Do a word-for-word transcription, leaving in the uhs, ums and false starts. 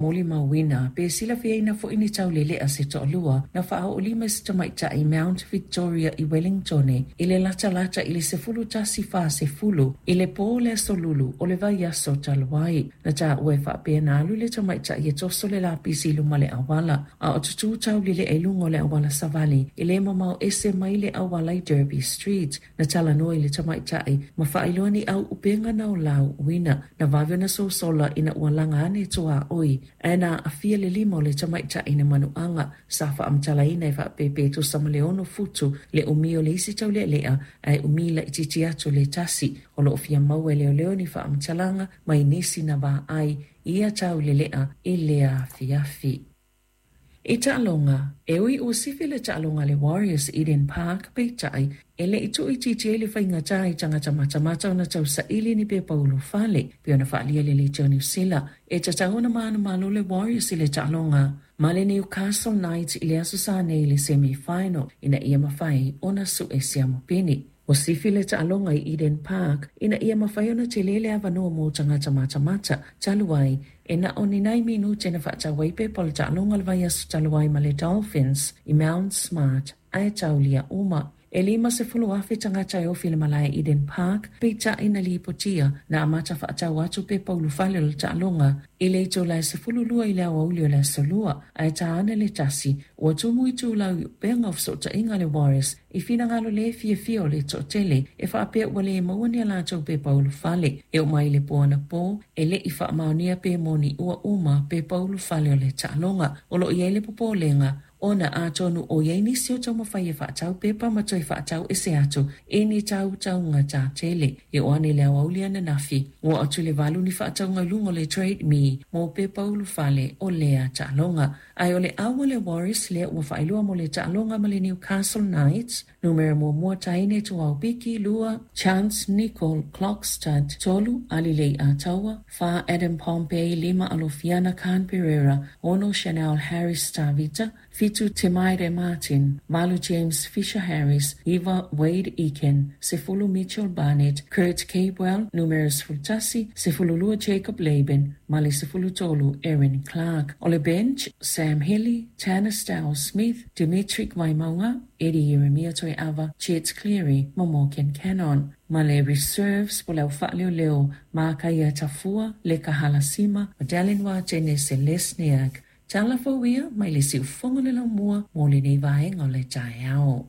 Molimauina pe silafiaina foi ni taulele'a se to'alua na faaoolima i se tamaitai Mount Victoria i Wellingtone i le latalata i le sefulu tasi fasefulu i le pō o le Aso Lulu o le vaiaso talu ai. Na taua e faapea na alu le tamaitai e toso le lapisi i luma o le auala, a o tutū taulele'a i luga o le auala savali e le mamao ese mai le auala i Derby Street. Na talanoa i le tamaitai ma faailoa ni au upega na o lauuina. Na vave ona sosola ina ua laga ane tuaoi ae na aafia le lima o le tamaitai i le manuaga. Sa faamatalaina e faapea pe tusa ma le ono futu le umi o le isi taulealea, ae umi laitiiti atu le tasi. O loo fia maua e leoleo ni faamatalaga mai nisi na vaai i ia taulelea i lea afiafi. I taaloga, e ui ua sifi le taaloga a le Warriors i Eden Park, peitai e le i tuuitiitia ai le faigata i tagata matamata ona tausaili ni pepa ulufale, pei ona faaalia e le Leitio Niu Sila. E tatau ona manumalo le Warriors i le taaloga ma le Newcastle Knights i le Aso Sa nei i le semi-final ina ia mafai ona su'e siamupini. Ua sifi le taaloga i Eden Park ina ia mafai ona tele le avanoa mo tagata matamata, talu ai e na o ni nai minute na faatau ai pepa o le taaloga le vaiaso talu ai ma le Dolphins i Mount Smart, ae taulia uma. E lima sefulu afe tagata e ofi i le malae Eden Park, peitai na lipotia na amata faatau atu pepa ulufale o le taaloga i le itula e sefulu lua i le aoauli o le Aso Lua, ae ta ane le tasi ua tumu itulau i upega o fesootaiga a le Warriors i finagalo le fiafia o le toatele e faapea ua le maua ni a latou pepa ulufale. E oo mai le po anapo e le i faamaonia pe moni ua uma pepa ulufale o le taaloga. O loo i ai le popolega ona atonu o i ai nisi o taumafai e faatau pepa ma toe faatau ese atu i ni tautauga tatele. E oo ane i le aoauli ananafi ua atu le valu ni faatauga i luga o le Trade Me mo pepa ulufale o lea taaloga. Ae o le au a le Warriors lea ua faailoa mo le taaloga ma le Newcastle Knights: numera muamua Taine Tuaupiki, lua Chance Nicole Clockstad, tolu Alilei Ataua, fa Adam Pompey, lima Alofiana Khan Pereira, ono Chanel Harris Tavita, fitu Temaire Martin, valu James Fisher Harris, iva Wade Eakin, sefulu Mitchell Barnett, Kurt Capewell, numera sefulu tasi, sefulu lua Jacob Laban, ma le sefulu tolu Erin Clark. O le bench: Sam Healey, Tanner Stiles Smith, Dimitri Waimaunga, Eddie Jeremia Toeava, Chet Cleary ma Morgan Cannon. Ma le reserves po le au faaleoleo: Makaia Tafua, Leka Halasima, Madeleine Watene Selesniak. Tala fou ia mai le siufogo le laumua mo lenei vaega o le taeao.